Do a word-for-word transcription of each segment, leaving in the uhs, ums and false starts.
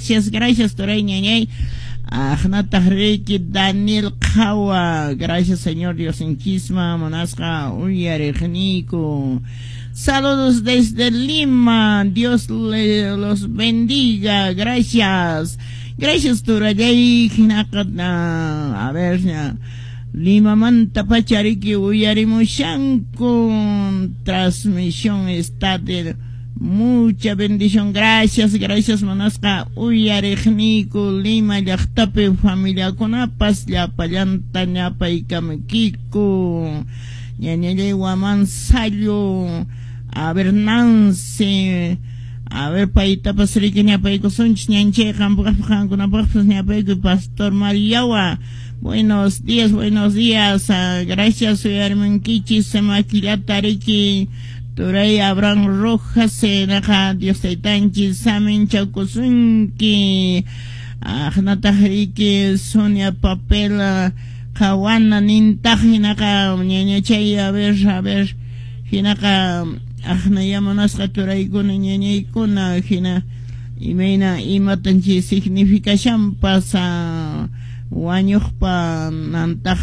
Gracias, gracias turay ñañay. Aqnataq riki Daniel Qhawa, gracias Señor Diosninchisman munasqa uyariqniyku. Saludos desde Lima, Dios le, los bendiga, gracias. Gracias turallay, hinaqa, a ver, Limamanta pacha riki uyarimushanku, transmisión está de mucha bendición, gracias, gracias munasqa uyariqniyku Lima llaqtapi familiakunapas llapallanta ñapaykamuykiku. Ñañallay Waman Sallo, a ver Nancy, a ver paytapas riki ñapaykusunchis ñanchay qampaqpas qankunapaqpas ñapaykuy Pastor Mariawa. Buenos días, buenos días, uh, gracias uyarimunkichis makillata riki turay Abraham Rojas, naqa Dios taytanchis saminchakusunki. Aqnataq riki Sonia Papel Qawana nintaq hinaqa ñañachay, a ver, a ver, hinaqa aqnaya munasqa turaykuna ñañaykuna hina imayna imatan chay significashanpas wañuqpa nantaq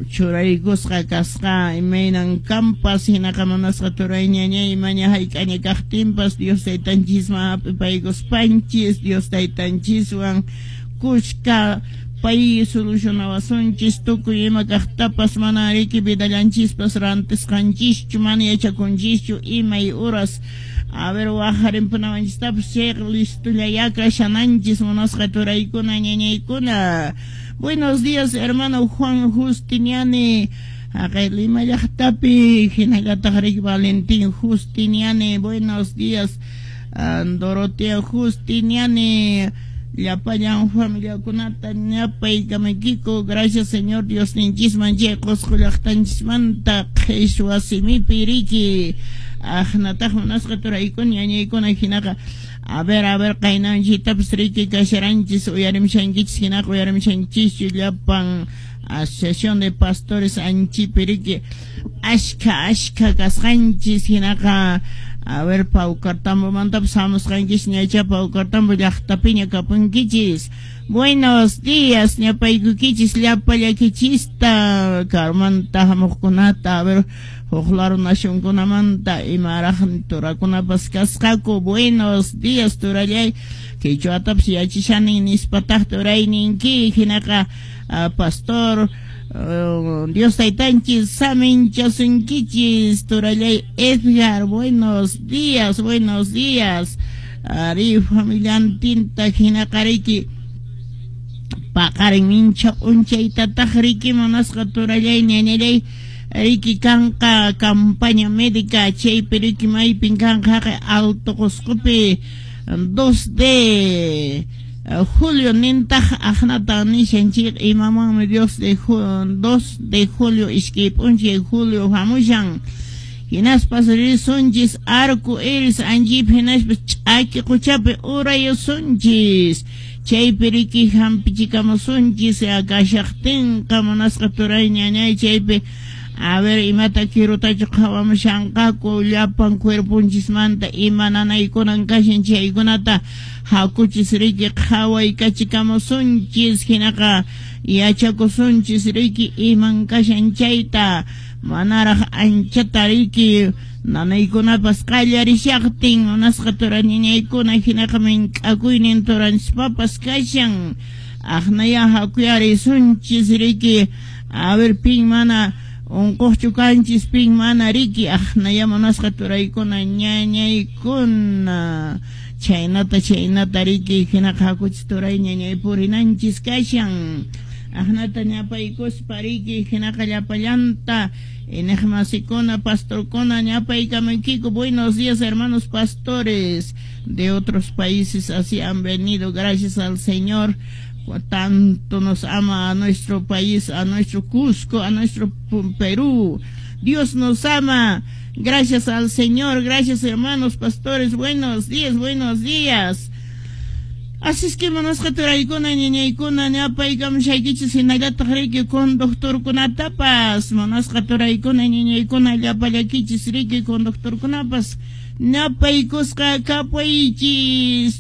churaykusqa kasqa imaynan kampas hinaqa munasqa turay ñañay imaña hayk'aña kaqtinpas Dios taytanchisman hap'ipaykuspanchis Dios taytanchiswan kushka pay solucionawasunchis tukuy ima kaqtapas mana riki vidallanchispas rantisqanchischu mana yachakunchischu imay uras a ver waqarinpunawanchistapas chayqa listollaya kashananchis munasqa turaykuna ñañaykuna. Buenos días hermano Juan Justiniani, haqay Lima llaqtapi hinallataq riki Valentín Justiniani, buenos días Dorotea Justiniani, llapallan familiakunata ñapaykamaykiku, gracias Señor Diosninchisman chay Qusqu llaqtanchismanta qhichwa simipi riki aqnataq munasqa turaykuna ñañaykuna hinaqa a ver, a ver qaynanchitapas riki kasharanchis uyarimushankichis hinaqa uyarimushanchischu llapan asociación de pastores anchipi riki ashka ashka kasqanchis hinaqa a ver Paucartambomantapas hamusqanchis ñacha Paucartambo llaqtapiña kapunkichis. Buenos días ñapaykukichis llapallakichista karumanta hamuqkunata a ver huk laru nacionkunamanta imaraq turakunapas kasqaku. Buenos días turallay qichwatapas yachishani nispataq turayninki hinaqa pastor Uh, Dios taytanchis saminchasunkichis turallay Edgar, buenos días, buenos días ari familiantinta hinaqa riki paqarin mincha p'unchaytataq riki munasqa turallay ñañallay riki kanqa campaña médica chaypi riki maypin kanqa haqay Alto Qusqupi dos de julio nintaq aqnata nishanchik imamanmi Dios de dos de julio iskay p'unchay julio hamushan hinaspas risunchis arco iris anchipi hinaspas ch'aki quchapi urayusunchis chaypi riki hampichikamusunchis kashaqtinqa munasqa turay ñañay chaypi a ver imata kirutachu qhawamushanqaku llapan cuerponchismanta ima nanaykunan kashan chaykunata hakuchis riki qhawaykachikamusunchis hinaqa yachakusunchis riki iman kashan chayta manaraq anchata riki nanaykunapas qallarishaqtin munasqa turaniñaykuna hinaqa mink'akuynin turanchispapas kashan aqnaya hakuyarisunchis riki a ver pin mana unquqchu kanchis pin mana riki aqnaya munasqa turaykuna ñañaykuna chaynata chaynata riki hinaqa hakuchis turay ñañay purinanchis kashan aqnata ñapaykuspa riki hinaqa llapallanta iñiqmasikuna pastorkuna ñapaykamaykiku. Buenos días hermanos pastores de otros países, así han venido, gracias al Señor tanto nos ama a nuestro país, a nuestro Cusco, a nuestro Perú. Dios nos ama, gracias al Señor, gracias hermanos pastores, buenos días, buenos días. Así es que munasqa turaykuna ñañaykuna ñapaykamushaykichis hinallataq riki conductorkunatapas munasqa turaykuna ñañaykuna llapallakichis riki conductorkunapas ñapaykusqa kapuychis.